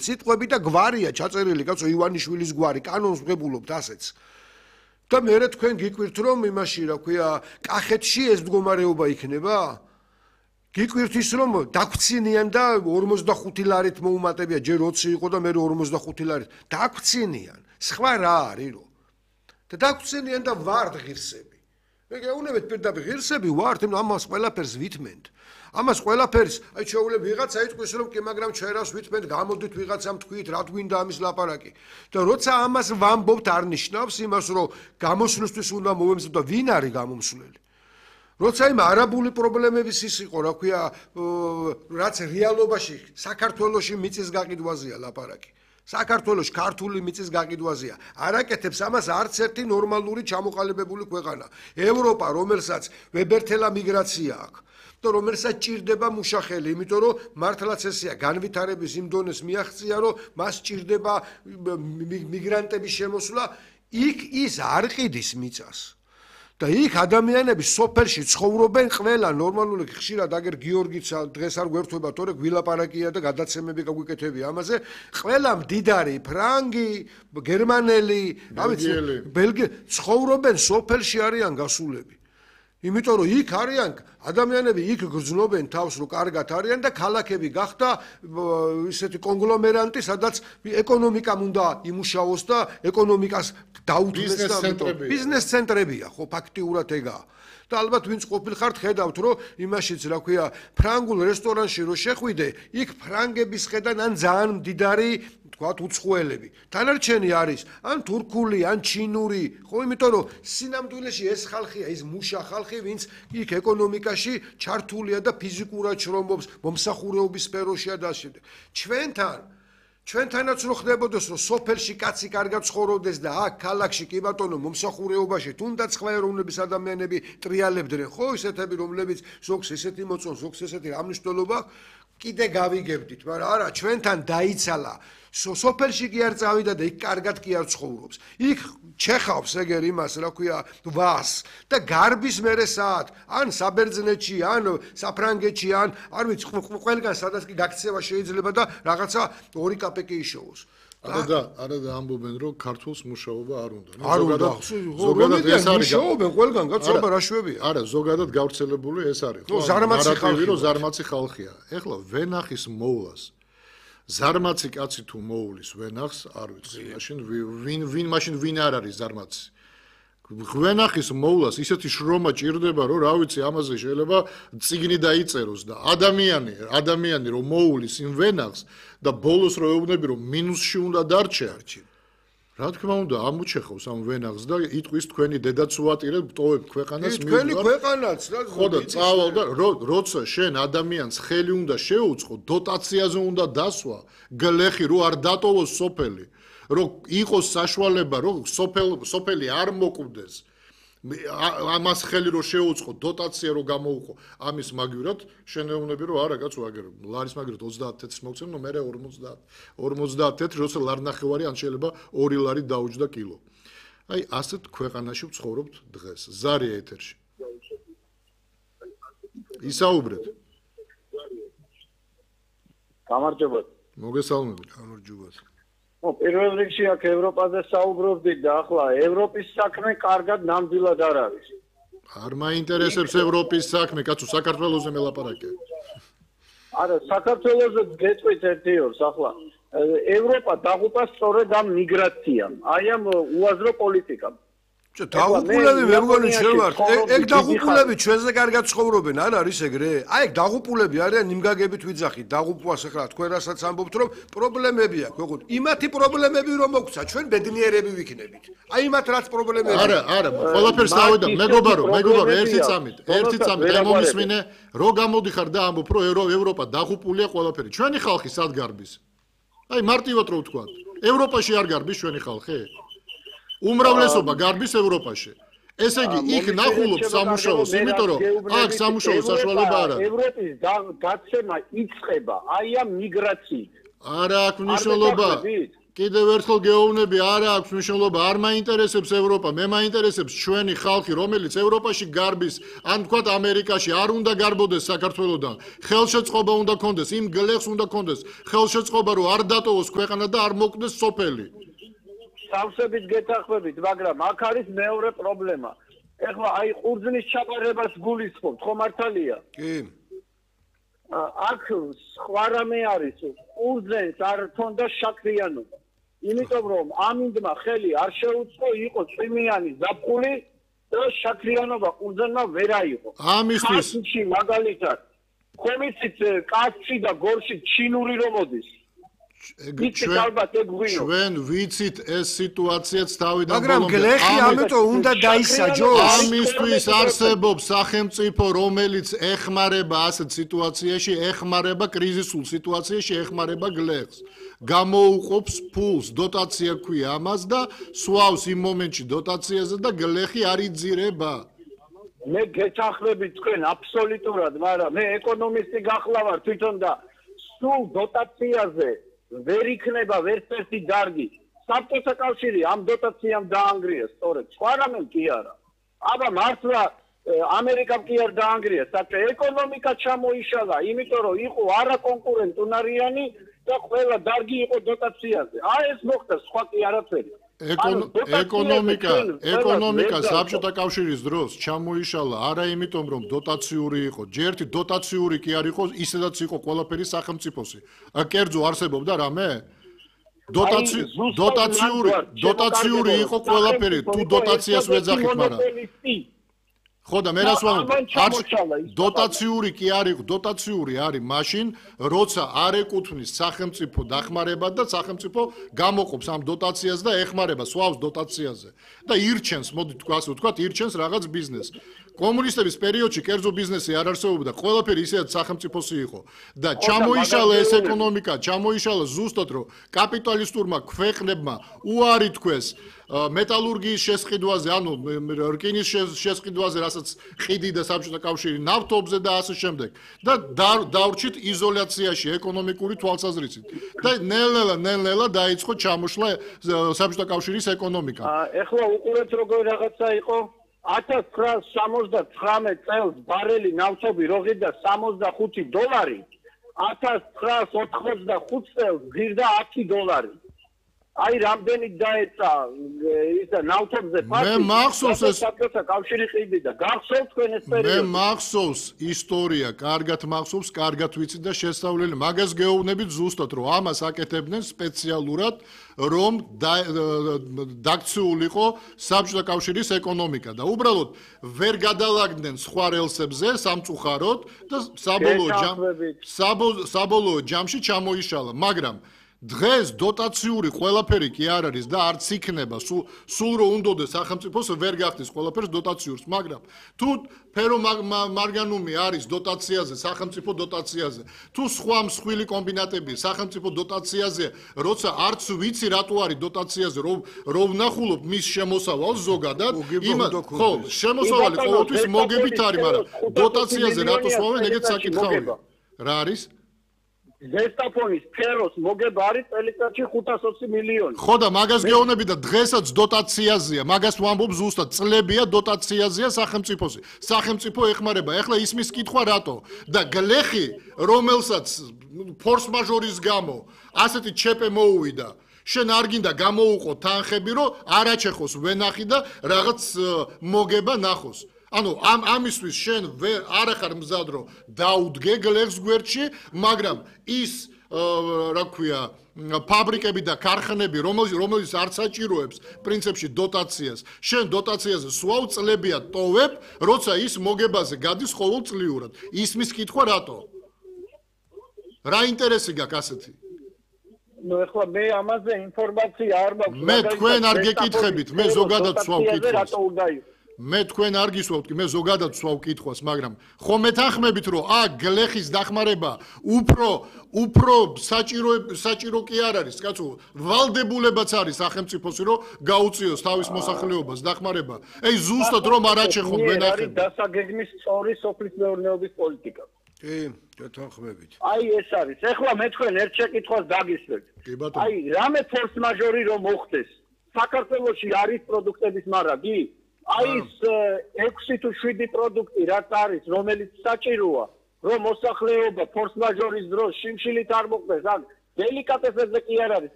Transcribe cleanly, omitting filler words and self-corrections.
სიტყვები და გვარია ჩაწერილი, კაცო, ივანიშვილის გვარი, კანონს ვღებულობთ ასეც. და მერე თქვენ გიკვირთ რომ იმაში, რა ქვია, კახეთში ეს მდგომარეობა იქნება? გიკვირთ ის რომ დაგვცინიან და 45 ლარით მოუმატებია, ჯერ 20 იყო და მე 45 ლარით. დაგვცინიან. სხვა რა არის რო? და დაგვცინიან და ვართ ღირსები. მე გეუბნებით პირდაპირ ღირსები ვართ, ამას ყველაფერს ვითმენთ. ამას ყველაფერს, აი შეუძლებ ვიღაცა იტყვის რომ კი, მაგრამ ჩვენ რას ვითმენთ, გამოდით ვიღაცამ თქვით, რა გვინდა ამის ლაპარაკი. და როცა ამას ვამბობთ, არ ნიშნავს იმას, რომ გამოსვლისთვის უნდა მოვემზადოთ და ვინ არის გამომსვლელი. როცა იმ არაბული პრობლემების ის იყო, რა ქვია, რაც რეალობაში საქართველოში მიწის გაყიდვაზეა ლაპარაკი. საქართველოში ქართული მიწის გაყიდვაზეა. არაკეთებს ამას არც ერთი ნორმალური ჩამოყალიბებული ქვეყანა. ევროპა, რომელსაც ვებერთელა მიგრაცია აქვს და რომელსაც ჭირდება მუშახელი, იმიტომ რომ მართლაც ესეა, განვითარების იმ დონეს მიაღწია, რომ მას ჭირდება მიგრანტების შემოსვლა, იქ ის არ ყიდის მიწას. და იქ ადამიანები სოფელში ცხოვრობენ ყველა ნორმალური ხშირად აგერ გიორგიცა დღეს არ გვერდება თორე გვილაპარაკია და გადაცემები გაგვიკეთებია ამაზე ყველა მდიდარი ფრანგი გერმანელი ბელგი ცხოვრობენ სოფელში არიან გასულები იმიტომ რომ იქ არიან ადამიანები იქ გრძნობენ თავს რომ კარგად არიან და ქალაქები გახდა ისეთი კონგლომერანტი სადაც ეკონომიკამ უნდა იმუშაოს და ეკონომიკას დაუთმეს და ბიზნეს ცენტრებია ხო ფაქტიურად ეგაა და ალბათ ვინც ყოფილხართ ხედავთ რომ იმაშიც რა ქვია ფრანგულ რესტორანში რო შეხვიდე იქ ფრანგების ხედან ან ძალიან მდიდარი თქვათ უცხოელები დანარჩენი არის ან თურქული ან ჩინური ხო იმიტომ რომ სინამდვილეში ეს ხალხია ის მუშა ხალხი ვინც იქ ეკონომიკაში ჩართულია და ფიზიკურად შრომობს მომსახურეობის სფეროშია და ასე ჩვენთანაც რო ხდებოდეს რომ სოფელში კაცი კარგად ცხოვრობდეს და აქ ქალაქში კი ბატონო მომსახურეობაში თუნდაც სხვა ეროვნების ადამიანები ტრიალებდნენ ხო ისეთები რომლებიც ზოგს ესეთი მოწონ ზოგს ესეთი რა მნიშვნელობა კიდე გავიგებდით მაგრამ არა ჩვენთან დაიცალა სოფელში კი არ წავიდა და იქ კარგად კი არ ცხოვრობს იქ ჩეხავს ეგერ იმას რა ქვია ვას და გარბის მერე საათ ან საბერძნეთში ან საფრანგეთში ან არ ვიცი ყველგან სადაც კი გაქცევა შეიძლება და რაღაცა 2 კაპეკი იშოვოს არა და ამბობენ რომ ქართულს მუშაობა არ უნდა არ უნდა ზოგადად ეს არის მუშაობენ ყველგან გაცობა რა შვებია არა ზოგადად გავრცელებული ეს არის ხო ზარმაცი ხალხია ეხლა ვენახის მოვლას ზარმაცი კაცი თუ მოულის ვენახს არ ვიცი მაშინ ვინ არ არის ზარმაცი ვენახის მოვლას ისეთი შრომა ჭირდება რომ რა ვიცი ამაზე შეიძლება წიგნი დაიწეროს და ადამიანი რომ მოულის იმ ვენახს და ბოლოს რო ეუბნები რომ მინუსში უნდა დარჩე რა თქმა უნდა ამუჩეხავს ამ ვენახს და იტყვის თქვენი დედაც უატირებ ტოვებ ქვეყანას თქვენი ქვეყანაც ხო და წავალ და როცა შენ ადამიანს ხელი უნდა შეუწყო დოტაციაზე უნდა დასვა გლეხი რო არ დატოვოს სოფელი რომ იყოს საშუალება რომ სოფელი არ მოკვდეს ამას ხელი რო შეუწყო დოტაცია რო გამოუყო ამის მაგივრად შენეუნები რომ არა კაცო აგერ ლარის მაგივრად 30 თეთრს მოგცემ ნუ მე 50 თეთრი როცა ლარნახევარი ან შეიძლება 2 ლარი დაუჯდა კილო აი ასეთ ქვეყანაში ვცხოვრობთ დღეს ზარია ეთერში ისაუბრეთ გამარჯობა მოგესალმებით გამარჯობა პირველ რიგში აქ ევროპაზე საუბრობდით და ახლა ევროპის საქმე კარგად ნამდვილად არ არის. არ მაინტერესებს ევროპის საქმე, კაცო, საქართველოზე მელაპარაკე. არა, საქართველოზე გეტყვით ერთი ორს ახლა. ევროპა დაღუპა სწორედ ამ მიგრაციამ, აი ამ უაზრო პოლიტიკამ. დაღუპულები მე მგონი შევართ. ეგ დაღუპულები ჩვენზე კარგად ცხოვრობენ, არ არის ეგრე? აი ეგ დაღუპულები არიან იმგაგებით ვიძახით, დაღუპვას ახლა თქვენ რასაც ამბობთ რომ პრობლემები აქვს, ოღონდ იმათი პრობლემები რომ მოგცა, ჩვენ ბედნიერები ვიქნებით. აი იმათ რაც პრობლემები არა, ყველაფერს დავიდა, მეგობარო, ერთი წამით, აი მომისმინე, რო გამოდიხარ და ამბობ რომ ევროპა დაღუპულია ყველაფერი. ჩვენი ხალხი სად გარბის? აი მარტივად რო ვთქვა. ევროპაში არ გარბის ჩვენი ხალხი? უმრავლესობა გარბის ევროპაში. ესე იგი, იქ ნახულობს სამუშაოს, იმიტომ რომ აქ სამუშაოს საშუალება არ არის. ევროპის გაცემა იწყება აი ამ მიგრაციით. არა აქვს მნიშვნელობა. კიდევ ერთხელ გეუბნები, არა აქვს მნიშვნელობა, არ მაინტერესებს ევროპა, მე მაინტერესებს ჩვენი ხალხი, რომელიც ევროპაში გარბის, ან თქვათ ამერიკაში, არ უნდა გარბოდეს საქართველოსთან. ხელშეწყობა უნდა კონდეს, იმ გლეხს უნდა კონდეს, ხელშეწყობა რომ არ დატოვოს ქვეყანა და არ მოკვდეს სოფელი. სავსებით გეთანხმებით, მაგრამ აქ არის მეორე პრობლემა. ეხლა აი ყურძნის ჩაპარებას გულისხმობთ, ხო მართალია? კი. აქ სხვა რამე არის, ყურძენს არ თონდა შაქრიანობა. იმიტომ რომ ამინდმა ხელი არ შეუწყო, იყო წვიმიანი ზაფხული და შაქრიანობა ყურძენმა ვერ აიღო. ამისთვის მაგალითად, ხომიცით კაცი და გორში ჩინური რომ მოდის. ჩვენ ვიცით ეს სიტუაციაც თავიდან მაგრამ გლეხი ამიტომ უნდა დაისაჯოს. ამისთვის არსებობს სახელმწიფო, რომელიც ეხმარება ასეთ სიტუაციაში, ეხმარება კრიზისულ სიტუაციაში, ეხმარება გლეხს. გამოუყოფს ფულს, დოტაცია ქვია ამას და სვავს იმ მომენტში დოტაციაზე და გლეხი არ იძირება. მე გეთანხმებით თქვენ აბსოლუტურად, მაგრამ მე ეკონომისტი გახლავარ თვითონ და სულ დოტაციაზე ვერ იქნება ვერცერთი დარგი. საბჭოთა კავშირი ამ დოტაციამ დაანგრია, სწორედ. სხვა რამე კი არა. აბა მართლა ამერიკამ კი არ დაანგრია, საბჭო ეკონომიკა ჩამოიშალა, იმიტომ რომ იყო არაკონკურენტუნარიანი და ყველა დარგი იყო დოტაციაზე. აი ეს მოხდა, სხვა კი არაფერი. ეკონომიკა საბჭოთა კავშირის დროს ჩამოიშალა არა იმიტომ რომ დოტაციური იყო, ჯერთი დოტაციური კი არ იყო, ისედაც იყო ყველაფერი სახელმწიფოსი. კერძო არსებობდა რამე? დოტაციური იყო ყველაფერი, თუ დოტაციას ვეძახით, მაგრამ ხო და მე რას ვამბობ, დოტაციური კი არ იყო, დოტაციური არის მაშინ, როცა არ ეკუთვნის სახელმწიფო დახმარება და სახელმწიფო გამოყოფს ამ დოტაციას და ეხმარება სვავს დოტაციაზე და ირჩენს, მოდი ასე ვთქვათ, ირჩენს რაღაც ბიზნესს. კომუნისტების პერიოდში კერძო ბიზნესი არ არსებობდა, ყველაფერი ისედაც სახელმწიფოსი იყო და ჩამოიშალა ეს ეკონომიკა, ჩამოიშალა ზუსტად რომ კაპიტალისტურმა ქვეყნებმა უარი თქვეს მეტალურგიის შესყიდვაზე, ანუ რკინის შესყიდვაზე, რასაც ყიდი და საბჭოთა კავშირი ნავთობზე და ასე შემდეგ და დავრჩით იზოლაციაში ეკონომიკური თვალსაზრისით და ნელ-ნელა დაიწყო ჩამოშლა საბჭოთა კავშირის ეკონომიკა. ეხლა უყურეთ როგორ რაღაცა იყო 1979 წელს ბარელი ნავთობი როღიდა $65, 1985 წელს ღირდა $10. აი რამდენი დაეცა ისა ნავთობზე ფასი. მე მახსოვს ეს საბჭოთა კავშირი ყიდი და გახსოვთ თქვენ ეს პერიოდი. მე მახსოვს ისტორია, კარგად მახსოვს, კარგად ვიცი და შესწავლილი. მაგას გეუბნებით ზუსტად, რომ ამას აკეთებდნენ სპეციალურად, რომ დაქციულიყო საბჭოთა კავშირის ეკონომიკა და უბრალოდ ვერ გადალაგდნენ სხვა რელსებზე სამწუხაროდ და საბოლოო ჯამში ჩამოიშალა, მაგრამ დღეს დოტაციური ყველაფერი კი არ არის და არც იქნება, სულ რო უნდოდეს სახელმწიფოს ვერ გახდეს ყველაფერს დოტაციურს, მაგრამ თუ ფერო მარგანუმი არის დოტაციაზე, სახელმწიფო დოტაციაზე, თუ სხვა მსხვილი კომბინატები სახელმწიფო დოტაციაზე, როცა არც ვიცი რატო არის დოტაციაზე, რომ ვნახულობ მის შემოსავალს ზოგადად, ხო, შემოსავალი ყოველთვის მოგებით არის, მაგრამ დოტაციაზე რატო სვავენ, ეგეც საკითხავია. რა არის? ზესტაფონის ფეროს მოგება არის წელიწადში 520 მილიონი. ხო და მაგას გეუბნები და დღესაც დოტაციაზეა, მაგას ვამბობ ზუსტად, წლებია დოტაციაზეა სახელმწიფოსი. სახელმწიფო ეხმარება. ეხლა ისმის კითხვა რატო? და გლეხი, რომელსაც ფორს-მაჟორის გამო ასეთი ჩეპე მოუვიდა, შენ არ გინდა გამოუყო თანხები, რომ არაჩეხოს ვენახი და რაღაც მოგება ნახოს. ანუ ამისთვის შენ არ ახარ მზად რომ დაუდგე გლეხს გვერდში, მაგრამ ის რა ქვია ფაბრიკები და ქარხნები, რომელიც არ საჭიროებს პრინციპში დოტაციას, შენ დოტაციაზე სვავ წლებია ტოვებ, როცა ის მოგებაზე გადის ყოველწლიურად. ისმის კითხვა რატო? რა ინტერესი გაქვს ასეთი? ნუ ეხლა მე ამაზე ინფორმაცია არ მაქვს. მე თქვენ არ გეკითხებით, მე ზოგადად სვავ კითხვას. მე თქვენ არ გისვავთ, მე ზოგადად სვავ კითხვას, მაგრამ ხომ მეთანხმებით, რომ გლეხის დახმარება უფრო საჭირო კი არ არის, კაცო, ვალდებულებაც არის სახელმწიფოსი, რომ გაუწიოს თავის მოსახლეობას დახმარება. ზუსტად რომ არ აჩეხონ ვენახები. არის დასაგეგმის სწორი სოფლის მეურნეობის პოლიტიკა. კი, გეთანხმებით. აი ეს არის. ეხლა მე თქვენ ერთ შეკითხვას დაგისვეთ. აი რამე ფორს მაჟორი რომ მოხდეს, საქართველოში არის პროდუქტების მარაგი? აი ეს 6 თუ 7 პროდუქტი რაც არის, რომელიც საჭიროა, რომ მოსახლეობა ფორს მაჟორის დროს შიმშილით არ მოხდეს, ან დელიკატესებზე კი არ არის,